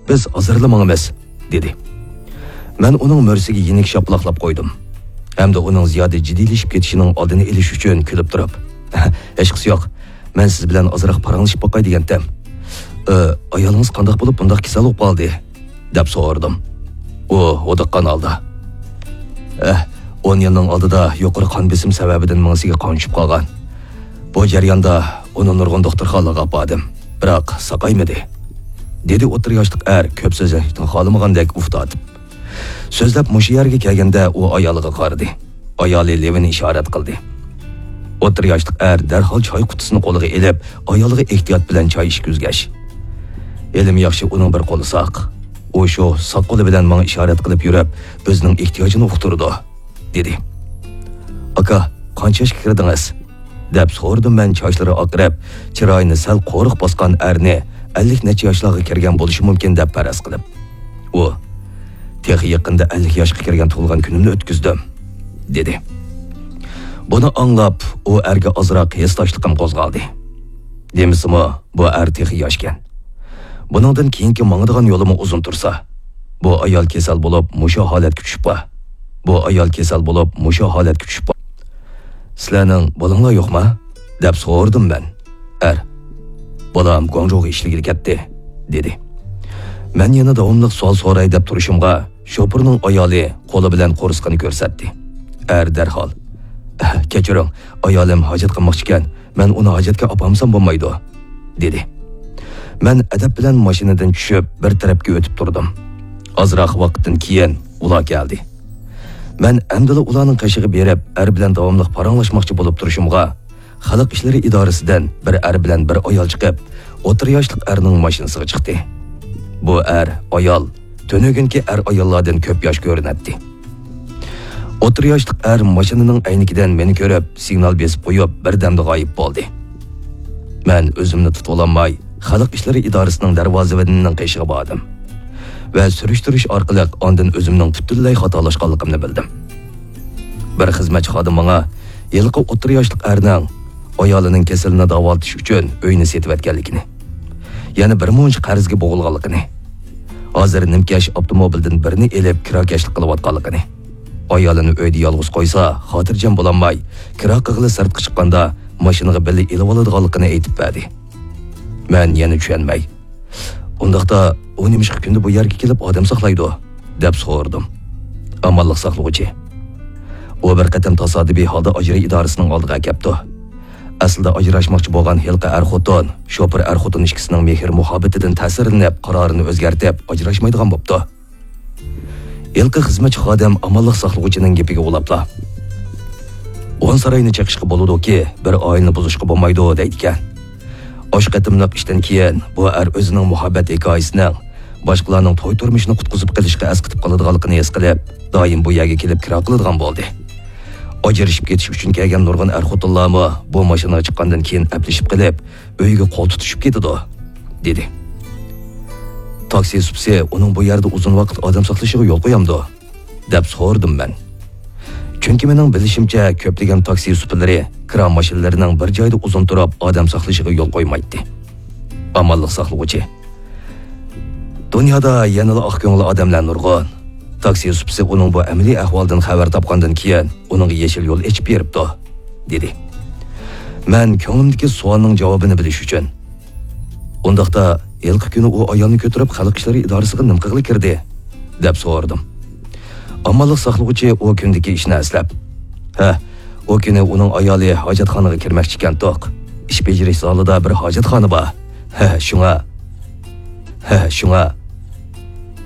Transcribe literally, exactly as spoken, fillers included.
«بىز ھازىرلا ماڭىمىز» دېدى. مەن ئۇنىڭ مۈرىسىگە يېنىك شاپىلاقلاپ قويدۇم. ھەمدە ئۇنىڭ زىيادە جىددىيلىشىپ كېتىشىنىڭ ئالدىنى ئېلىش ئۈچۈن كۈلۈپ تۇرۇپ، «ھېچقىسى يوق. مەن سىز بىلەن ئازراق پاراڭلىشىپ باقاي دېگەنتىم.» «ئايالىڭىز قانداق بولۇپ بۇنداق كېسەل بولۇپ قالدى؟» دەپ سورىدىم. ئۇ ھودۇققان ھالدا، «ئەھ، ئون يىلنىڭ ئالدىدا يۇقىرى قان بېسىم سەۋەبىدىن مېڭىسىگە قان چۈشۈپ قالغان. بۇ جەرياندا ئۇنى نۇرغۇن دوختۇرخانىلارغا ئاپاردىم، بىراق ساقايمىدى» دېدى ئوتتۇرا ياشلىق ئەر كۆپ سۆزلەشنى خالىمىغاندەك ئۇھ تارتىپ. سۆزلەپ مۇشۇ يەرگە كەلگەندە ئۇ ئايالىغا قارىدى. ئايالى لېۋىنى ئىشارەت قىلدى. ئوتتۇرا ياشلىق ئەر دەرھال چاي قۇتىسىنى قولىغا ئېلىپ، ئايالىغا ئېھتىيات بىلەن چاي ئىچكۈزگەچ، «ھېلىمۇ ياخشى ئۇنىڭ بىر قولى ساق. ئۇ شۇ ساق قولى بىلەن ماڭا ئىشارەت قىلىپ يۈرۈپ، ئۆزىنىڭ ئېھتىياجىنى ئۇقتۇرىدۇ» دېدى. «ئاكا، قانچە ياشقا كىردىڭىز؟» دەپ سورىدىم مەن چاچلىرى ئاقىرىپ، چىرايىنى سەل قورۇق باسقان ئەرنى، ئەللىك نەچچە ياشلارغا كىرگەن بولۇشى مۇمكىن دەپ پەرەز قىلىپ. ئۇ، «تېخى يېقىندا ئەللىك ياشقا كىرگەن تۇغۇلغان كۈنۈمنى ئۆتكۈزدۈم» دېدى. بۇنى ئاڭلاپ، ئۇ ئەرگە ئازراق ھېسداشلىقىم قوزغالدى. دېمىسىمۇ، بۇ ئەر تېخى ياشكەن. بۇنىڭدىن كېيىنكى ماڭىدىغان يولىمۇ ئۇزۇن تۇرسا، بۇ ئايال كېسەل بولۇپ مۇشۇ ھالەتكە چۈشۈپ بار. بۇ ئايال كېسەل بولۇپ مۇشۇ ھالەتكە چۈشۈپ بار. «سىلەرنىڭ بالىڭلار يوقما؟» دەپ سورىدىم مەن. ئەر، «بالام گۇاڭجۇغا ئىشلىگىلى كەتتى» دېدى. مەن يەنە داۋاملىق سوئال سوراي دەپ تۇرۇشۇمغا، شوپۇرنىڭ ئايالى قولى بىلەن قورسىقىنى كۆرسەتتى. ئەر دەرھال، «كەچۈرۈڭ، ئايالىم ھاجەت قىلماقچىكەن، مەن ئۇنى ھاجەتكە ئاپارمىسام بولمايدۇ» دېدى. مەن ئەدەپ بىلەن ماشىنىدىن چۈشۈپ، بىر تەرەپكە ئۆتۈپ تۇردۇم. ئازراق ۋاقىتتىن كېيىن ئۇلار كەلدى. مەن ئەمدىلا ئۇلارنىڭ قېشىغا بېرىپ، ئەر بىلەن داۋاملىق پاراڭلاشماقچى بولۇپ تۇرۇشۇمغا، خەلق ئىشلىرى ئىدارىسىدىن بىر ئەر بىلەن بىر ئايال چىقىپ، ئوتتۇرا ياشلىق ئەرنىڭ ماشىنىسىغا چىقتى. بۇ ئەر، ئايال تۈنۈگۈنكى ئەر-ئاياللاردىن كۆپ ياش كۆرۈنەتتى. ئوتتۇرا ياشلىق ئەر ماشىنىنىڭ ئەينىكىدىن مېنى كۆرۈپ، سىگنال بېسىپ قويۇپ، بىردەمدە غايىب بولدى. مەن ئۆزۈمنى تۇتۇۋالالماي، خەلق ئىشلىرى ئىدارىسىنىڭ دەرۋازىۋىنىنىڭ قېشىغا باردىم ۋە سۈرۈشتۈرۈش ئارقىلىق ئاندىن ئۆزۈمنىڭ پۈتۈنلەي خاتالاشقانلىقىمنى بىلدىم. بىر خىزمەتچى خادىم ماڭا ھېلىقى ئوتتۇرا ياشلىق ئەرنىڭ ئايالىنىڭ كېسىلىنى داۋالىتىش ئۈچۈن ئۆينى سېتىۋەتكەنلىكىنى، يەنە بىر مۇنچە قەرزگە بوغۇلغانلىقىنى، ھازىر نىمكەش ئاپتوموبىلدىن بىرنى ئېلىپ كىراكەشلىك قىلىۋاتقانلىقىنى، ئايالىنى ئۆيدە يالغۇز قويسا خاتىرجەم بولالماي، كىرا قىلغىلى سىرتقا چىققاندا ماشىنىغا بىللە ئېلىۋالىدىغانلىقىنى ئېيتىپ بەردى. مەن يەنە چۈشەنمەي، «ئۇنداقتا ئۇ نېمىشقا كۈندە بۇ يەرگە كېلىپ ئادەم ساقلايدۇ؟» دەپ سورىدىم. «ئامانلىق ساقلىغۇچى. ئۇ بىر قېتىم تاسادىپىي ھالدا ئاجرا ئىدارىسىنىڭ ئالدىغا ئەكەپتۇ. ئەسلىدە ئاجراشماقچى بولغان ھېلىقى ئەر-خوتۇن، شوپۇر ئەر-خوتۇن ئىككىسىنىڭ مېھىر-مۇھەببىتىدىن تەسىرلىنىپ، قارارىنى ئۆزگەرتىپ، ئاجراشمايدىغان بوپتۇ.» ھېلىقى خىزمەتچى خادىم ئامانلىق ساقلىغۇچىنىڭ گېپىگە ئۇلاپلا، «ئون ساراينى چېقىشقا بولىدۇكى، بىر ئائىلىنى بۇزۇشقا بولمايدۇ» دەيدىكەن. ئاشۇ قېتىملىق ئىشتىن كېيىن بۇ ئەر ئۆزىنىڭ مۇھەببەت ھېكايىسىنىڭ باشقىلارنىڭ توي تۇرمۇشىنى قۇتقۇزۇپ قېلىشقا ئەسقىتىپ قالىدىغانلىقىنى ھېس قىلىپ، دائىم بۇ يەرگە كېلىپ كىرا قىلىدىغان بولدى. ئاجرىشىپ كېتىش ئۈچۈن كەلگەن نۇرغۇن ئەر-خوتۇنلارمۇ بۇ ماشىنىغا چىققاندىن كېيىن ئەپلىشىپ قېلىپ، ئۆيىگە قول تۇتۇشۇپ كېتىدۇ، دېدى. تاكسى سۇپىسى ئۇنىڭ بۇ يەردە ئۇزۇن ۋاقىت ئادەم ساقلىشىغا يول قويامدۇ؟ دەپ سورىدىم مەن. چۈنكى مېنىڭ بىلىشىمچە، كۆپلىگەن تاكسى سۇپىلىرى كىرا ماشىنىلىرىنىڭ بىر جايدا ئۇزۇن تۇرۇپ ئادەم ساقلىشىغا يول قويمايتتى. ئامانلىق ساقلىغۇچى، دۇنيادا يەنىلا ئاق كۆڭۈل ئادەملەر نۇرغۇن. تاكسى سۇپىسى ئۇنىڭ بۇ ئەمەلىي ئەھۋالدىن خەۋەر تاپقاندىن كېيىن، ئۇنىڭغا يېشىل يول ئېچىپ بېرىپتۇ، دېدى. مەن كۆڭلۈمدىكى سوئالنىڭ جاۋابىنى بىلىش ئۈچۈن، ئۇنداقتا، ھېلىقى كۈنى ئۇ ئايالنى كۆتۈرۈپ خەلق ئىشلىرى ئىدارىسىغا نېمە قىلغىلى كىردى؟ دەپ سورىدىم. ئامانلىق ساقلىغۇچى ئۇ كۈندىكى ئىشنى ئەسلەپ، ھە، ئۇ كۈنى ئۇنىڭ ئايالى ھاجەتخانىغا كىرمەكچىكەنتۇق. ئىش بېجىرىش زالىدا بىر ھاجەتخانا بار. ھە، شۇڭا. ھە، شۇڭا.